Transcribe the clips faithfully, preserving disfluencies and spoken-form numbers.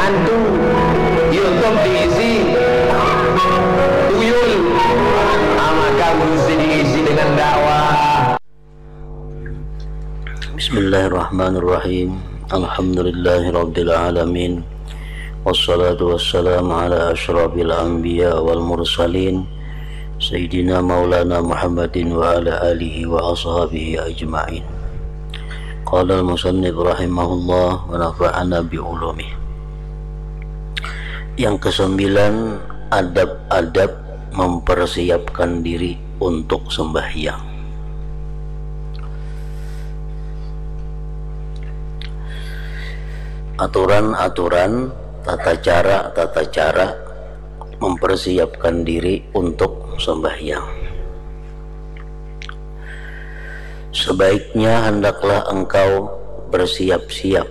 Hantu, YouTube diisi tuyul, ah, makam mesti diisi dengan dakwah. Bismillahirrahmanirrahim. Alhamdulillahirabbil alamin. Wassalatu wassalamu ala asyrafil anbiya wal mursalin, Sayyidina Maulana Muhammadin wa ala alihi wa ashabihi ajma'in. Qala al-musannif rahimahullah wa nafa'ana bi ulumih. Yang kesembilan, adab-adab mempersiapkan diri untuk sembahyang. Aturan-aturan, tata cara-tata cara mempersiapkan diri untuk sembahyang. Sebaiknya hendaklah engkau bersiap-siap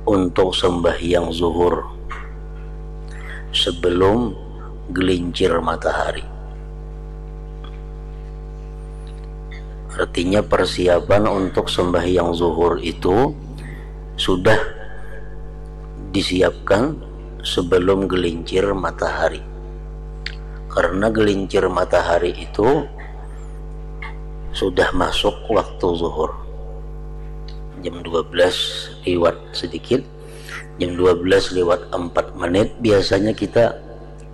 untuk sembahyang zuhur sebelum gelincir matahari. Artinya, persiapan untuk sembahyang zuhur itu sudah disiapkan sebelum gelincir matahari. Karena gelincir matahari itu sudah masuk waktu zuhur. Jam dua belas lewat sedikit, jam dua belas lewat empat menit, biasanya kita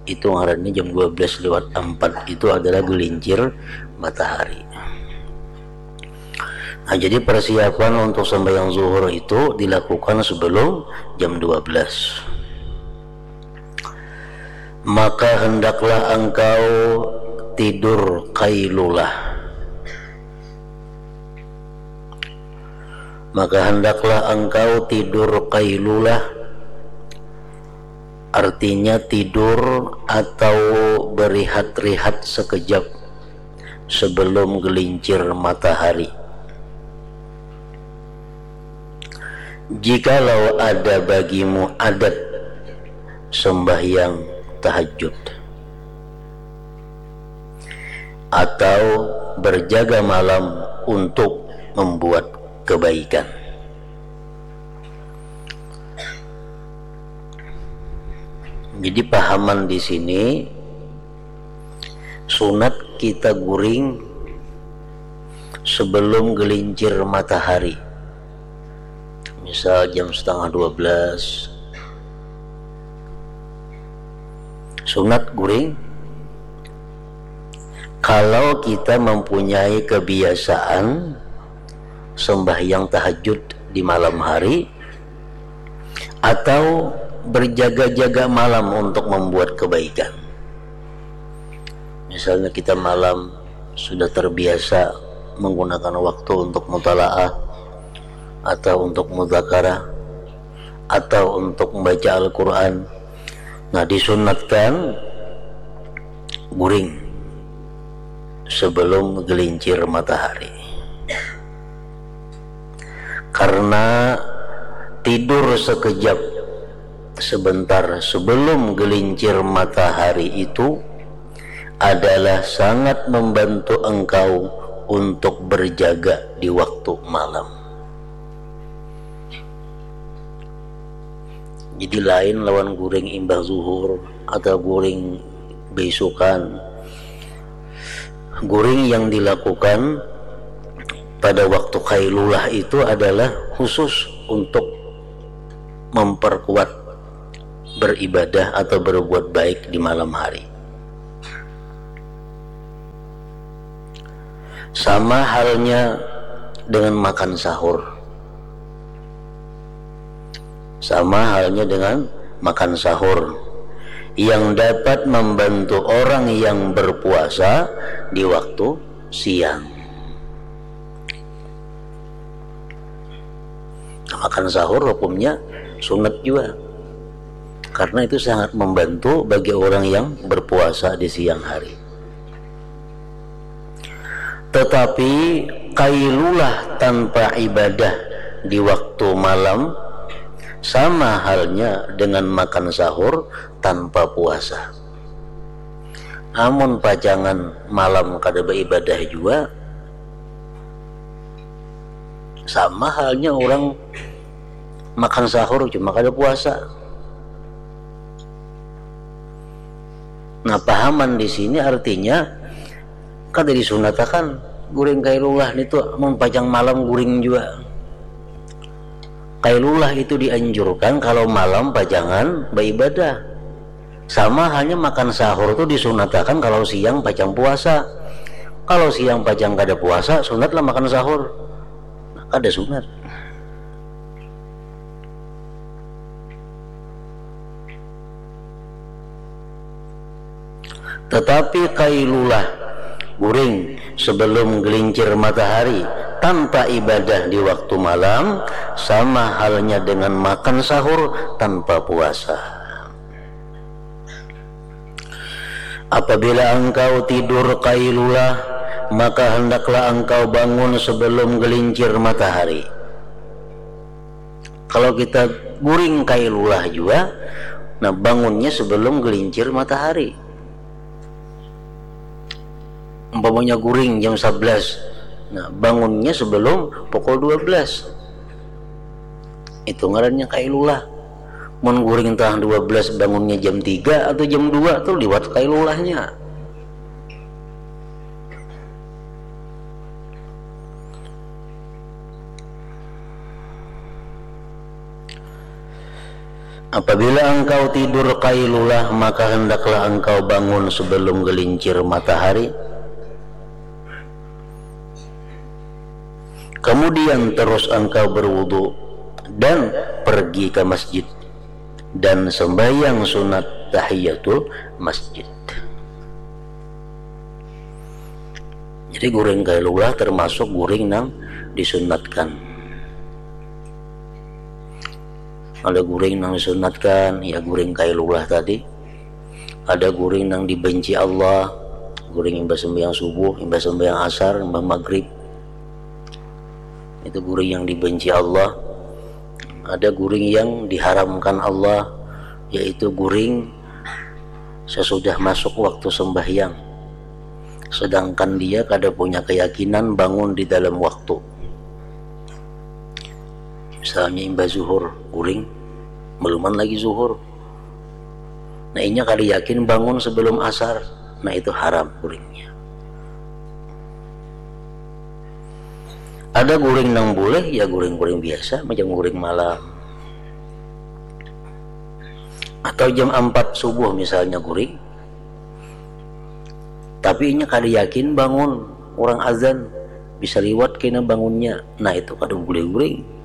itu ngarannya jam dua belas lewat empat itu adalah gelincir matahari. Nah, jadi persiapan untuk sembahyang zuhur itu dilakukan sebelum jam dua belas. Maka hendaklah engkau tidur qailulah. Maka hendaklah engkau tidur qailulah, artinya tidur atau berehat-rehat sekejap sebelum gelincir matahari. Jikalau ada bagimu adat sembahyang tahajud atau berjaga malam untuk membuat kebaikan. Jadi, pahaman di sini, sunat kita guring sebelum gelincir matahari. Misal jam setengah dua belas. Sunat guring kalau kita mempunyai kebiasaan sembahyang tahajud di malam hari atau berjaga-jaga malam untuk membuat kebaikan. Misalnya, kita malam sudah terbiasa menggunakan waktu untuk mutalaah atau untuk muzakarah atau untuk membaca Al-Quran. Nah, disunatkan guring sebelum gelincir matahari. Karena tidur sekejap sebentar sebelum gelincir matahari itu adalah sangat membantu engkau untuk berjaga di waktu malam. Jadi, lain lawan guring imbah zuhur atau guring beisukan. Guring yang dilakukan pada waktu qailulah itu adalah khusus untuk memperkuat beribadah atau berbuat baik di malam hari. Sama halnya dengan makan sahur. Sama halnya dengan makan sahur yang dapat membantu orang yang berpuasa di waktu siang. Makan sahur hukumnya sunat jua, karena itu sangat membantu bagi orang yang berpuasa di siang hari. Tetapi, qailulah tanpa ibadah di waktu malam sama halnya dengan makan sahur tanpa puasa. Amun pacangan malam kada baibadah jua, sama halnya urang makan sahur cuma kada puasa. Nah, pahaman di sini artinya kada disunatakan guring kailulah nitu, mun pacang malam guring jua. Kailulah itu dianjurkan kalau malam pacangan baibadah. Sama halnya makan sahur tu disunatakan kalau siang pacang puasa. Kalau siang pacang kada puasa, sunatlah makan sahur. Nah, kada sunat. Tetapi kailulah, guring sebelum gelincir matahari, tanpa ibadah di waktu malam, sama halnya dengan makan sahur tanpa puasa. Apabila engkau tidur kailulah, maka hendaklah engkau bangun sebelum gelincir matahari. Kalau kita guring kailulah jua, nah, bangunnya sebelum gelincir matahari. Umpamanya guring jam sebelas, nah, bangunnya sebelum pukul dua belas. Itu ngarannya kailulah. Mun guring tangah dua belas, bangunnya jam tiga atau jam dua, tu liwat kailulahnya. Apabila engkau tidur kailulah, maka hendaklah engkau bangun sebelum gelincir matahari. Kemudian terus engkau berwudu dan pergi ke masjid dan sembahyang sunat tahiyatul masjid. Jadi guring kailulah termasuk guring nang disunatkan. Ada guring nang disunatkan, ya guring kailulah tadi. Ada guring nang dibenci Allah, guring imbah sembahyang subuh, imbah sembahyang asar, imbah maghrib. Itu guring yang dibenci Allah. Ada guring yang diharamkan Allah, yaitu guring sesudah masuk waktu sembahyang. Sedangkan dia kada punya keyakinan bangun di dalam waktu. Misalnya imbah zuhur, guring, beluman lagi zuhur. Nah, inya kada yakin bangun sebelum asar. Nah, itu haram guringnya. Ada guring nang boleh, ya guring-guring biasa, macam guring malam. Atau jam empat subuh misalnya guring. Tapi inya kada yakin bangun, urang azan, bisa liwat kena bangunnya. Nah, itu kada boleh guring.